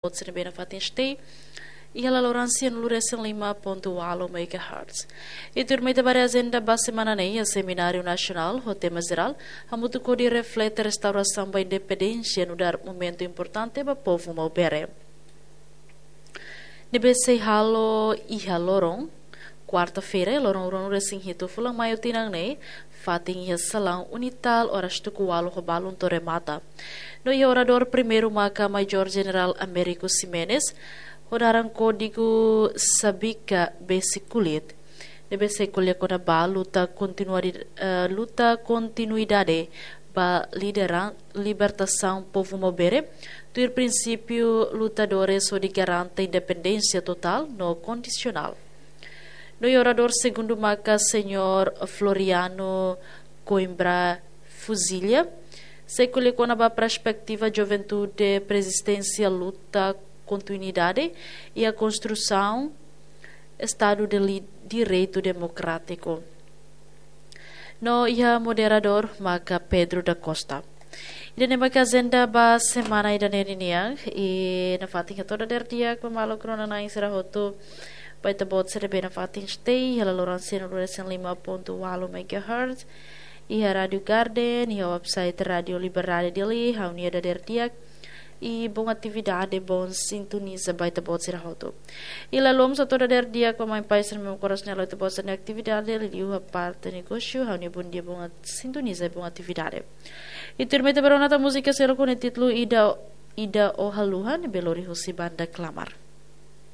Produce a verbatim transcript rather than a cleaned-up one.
Boot sira ne'ebé nafatin stay iha laloran sianulu resin lima pontu ualu megahertz. I tuirmai ita ba agenda ba semana ne'e, iha semináriu nasionál ho tema jerál Hamutuk hodi reflete restaurasaun ba independénsia nu'udar momentu importante ba povu Maubere. Ne'ebé sei halo iha loron kuarta-feira, loron ruanulu resin hitu fulan maiu tinan ne'e, fatin iha salaun Unital, oras tuku ualu ho balun to'o remata. No iha oradór primeiru maka Majór Jenerál Américo Ximenes, ho naran kódigu Sabika Besi Kulit, ne'ebé sei ko'alia kona-ba luta kontinuadi-, eh, luta kontinuidade ba lideran-, libertasaun povu Maubere, tuir prinsípiu lutadores hodi garante independénsia totál no kondisionál. No iha oradór segundu maka Señór Floriano Coimbra Fuzilha, sei ko'alia kona-ba perspetiva juventude persisténsia luta kontinuidade iha konstrusaun Estadu de li-, Direitu Demokrátiku. No iha moderadór maka Pedro da Costa. Ida-ne'e maka agenda ba semana ida-ne'e nian, i nafatin hato'o dadeer di'ak ba maluk rona-na'in sira hotu, ba ita-boot sira ne'ebé nafatin stay iha laloran sianulu resin lima pontu ualu megahertz, iha Rádio Garden, iha website Rádio Liberdade Dili, ha'u-nia dadeer di'ak, i bom atividade, bom sintoniza ba ita-boot sira hotu. I la lom sa toda der dia ko mai pai ser memo koras nela ita-boot sira-nia atividade, liuliu iha parte negósiu, ha'u-nia bom dia, bom at-, sintoniza, bom atividade. I tuirmai ita bá rona tan múzika seluk ho nia títulu Ida, Ida Ó Haluha, ne'ebé lori husi banda Klamar.